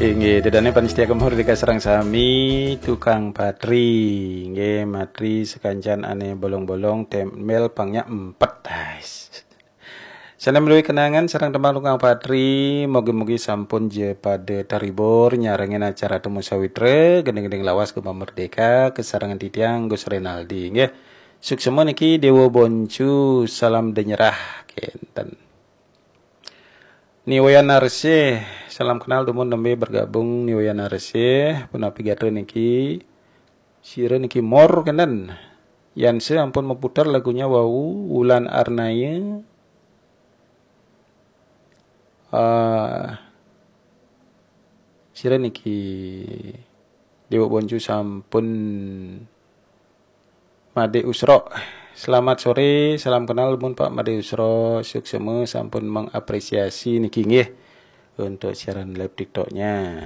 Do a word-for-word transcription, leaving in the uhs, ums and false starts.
Inggih, ida dané pamiarsa Gema Merdeka sareng sami, tukang patri. Inggih, matri sakancan ané bolong-bolong, temel pangnya empat. Ais. Sané madué kenangan sareng tembang tukang patri, mugi-mugi sampun ja pada terhibur nyarengin acara Temu Sawitra, gending-gending lawas Gema Merdeka, kasarengan titiang Gus Renaldi, inggih. Suksma niki Déwa Boncu, salam denyerah, kénten. Ni Wayan Narsih, salam kenal dumun nembé bergabung Ni Wayan Narsih, punapi gatra niki, sira niki Mor kénten. Yan se ampun meputar lagunya wau, Wulan Arnaya. Ah, sira niki Déwa Boncu sampun Madé Usro. Selamat sore, salam kenal mun Pak Madé Usro, suksma sampun mengapresiasi niki nggih untuk siaran live TikToknya.